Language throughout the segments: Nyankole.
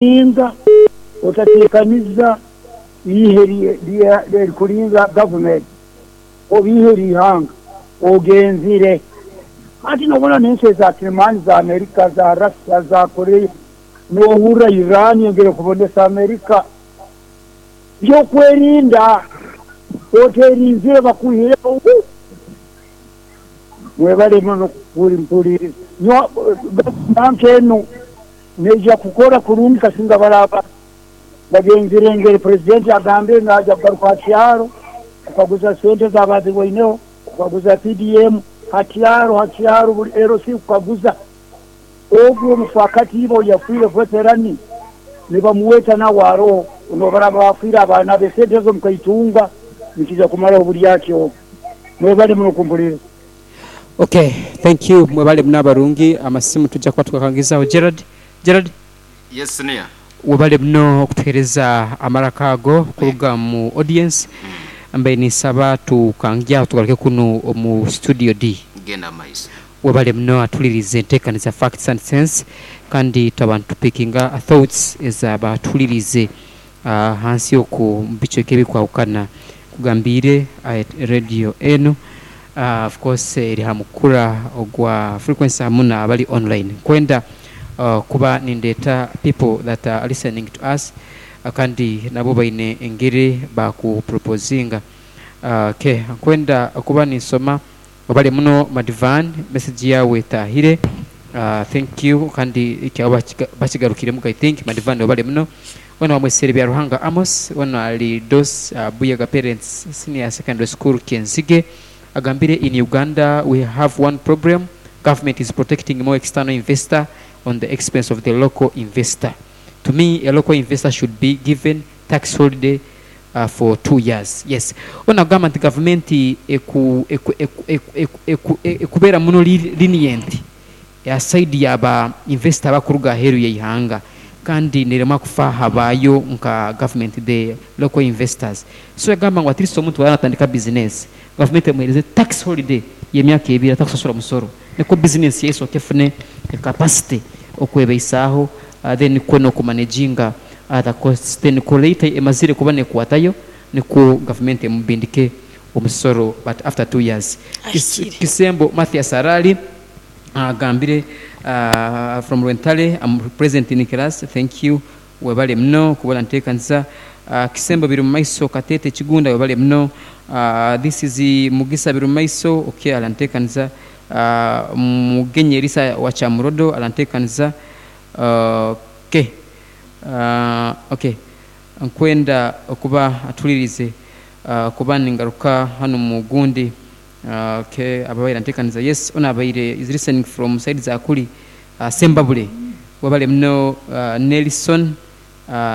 Otarinda, otateekaniza eihe erikurinda gavumenti oba eihe ry'eihanga ogenzire. Hati nobona n'ensi eza kirimaani za Amerika, za Russia, za Korea, nohurra Iran engire kubonesa Amerika. By'okwerinda, oterinzire bakwihireho. Mwebale muno kumpuriiriza. Banka enu Neija kukora kurungi kasinga baraaba bagenzire engeri Purezidenti agambire naaja kugaruka ha kyaro kukaguza sente ezaaba azibweineho, kukaguza PDM ha kyaro ha kyaro buri LC kukaguza. Ogu omufaakati iba oyafiire veterani nibamuweta nawe aroho nobaraaba bafiire abaana be sente ezo mukaitunga nikiija kumaraho oburyake obu. Mwebale muno kumpuriiriza. Ok thank you mwebale muno abarungi amasimu tujja kuba tugakangizaho Gerald Gerald Yes senior. Webale muno okutuhereza amaraka ago kuruga mu audience mbaire ninsaba tukangye aho tugaruke kunu omu studio D. Genda mumaiso. Webale muno atulirize entekaniza Facts and Sense kandi twaba nitupikinga thoughts eza batulirize Ahansi okwo mu bicweka ebirikwahukana nkugambiire radio enu of course eri aha mukura ogwa frequency hamu n'abali online. Nkwenda kuba nindeeta people that are listening to us kandi nabo baine engeri baakupropozinga. Okay, nkwenda kuba ninsoma Webale muno Madvan message yawe etahire thank you kandi kyaba bakigarukiremuku I think Madvan webale muno wena wamwesere Byaruhanga Amos wena ali Dos Buyaga parents senior secondary school Kyenzige agambire in Uganda we have one problem government is protecting more external investor on the expense of the local investor to me a local investor should be given tax holiday for 2 years yes Ono agamba nti gavumenti eku eku eku eku eku eku ekubeera muno lenient aha side ya ba investor abakuruga aheeru yeihanga kandi neremwa kufa aha baayo nka gavumenti the local investors so yagamba ngu at least omuntu waaba natandika business gavumenti emuhereze tax holiday yemyaka ebiri atakusasura musoro nikwo business ye esooke efune capacity okwebeisaaho then kwo nokumanaginga Other costs then ku later emazire kuba nekwatayo nikwo gavumenti emubindike omusoro but after 2 years. Ahikire. Kisembo Mathias Arali agambire from Rwentale am present in class thank you webale muno kuba orantekanisa. Kisembo Birumumaiso Katete Kigunda webale muno. This is Mugisa Birumumaiso ok arantekanisa. Mugenyi Erisa wa Kyamurodo arantekanisa ok. Ok, nkwenda okuba atulirize kuba ningaruka hanu mu gundi ok ababaire antekaniza yes ono abaire is listening from side za kuri Sembabule webale muno Nelson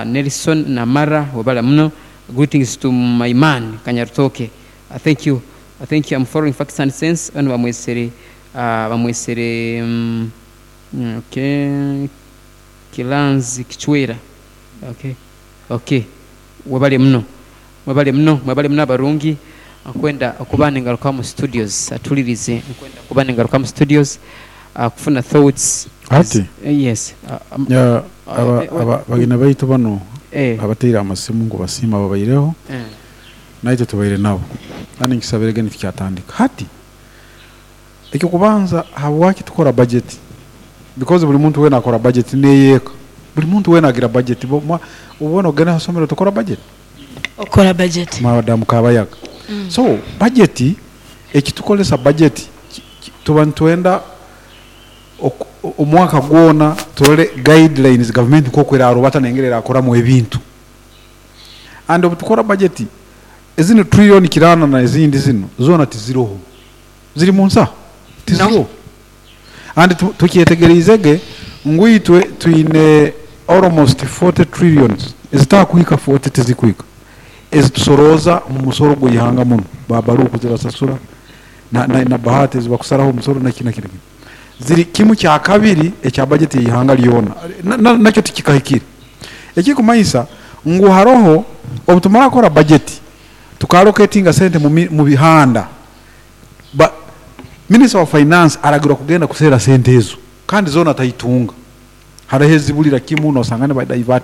Nelson Namara webale muno greetings to my man Kanyarutooke thank you thank you am following facts and sense ono bamwesere bamwesere ok. Kilanzi Kichwera ok ok webale muno mwebale muno mwebale muno abarungi nkwenda okuba ningaruka omu studios atulirize nkwenda kuba ningaruka omu studios kufuna thoughts Hati yes ya aba aba bagina baitu banu abateire amasimu nkubasiima babaireho naitwe tubaire nabo kandi nkisabirege nitukyatandika. Hati Eky'okubanza habwaki tukora bajeti? Because buri muntu weena akora bajeti n'ey'eka. Buri muntu weena agira bajeti. Obu ogenda aha isomero tokora bajeti? Okora bajeti. Madamu Kabayaga. So bajeti, ekitukoresa bajeti tuba nitwenda omwaka gwona turore guidelines gavumenti nk'oku erarubata n'engeri erakoramu ebintu. And obu tukora bajeti, zinu trillion kiraana n'ezindi zinu zoona tiziroho. Ziri mu nsaho? Tiziriho. And tukyetegyereize ge ngu itwe twine almost 40 trillions ezitakuhika 40 tizikuhika ezitusorooza omu musoro gw'eihanga munu, ba Baruku zibasasura na, na, na Bahati ezibakusaraho omusoro naki naki naki. Ziri kimu kya kabiri ekya budget y'eihanga lyona na, na, nakyo tikikahikire. Ekikumanyisa ngu haroho obutumara kukora budget tuka allocatinga sente mu, mu bihanda Ba Minister wa Finance aragirwa kugenda kuseera sente ezo kandi zoona ataitunga. Hariho ezibulira kimu nosanga nibadivertinga.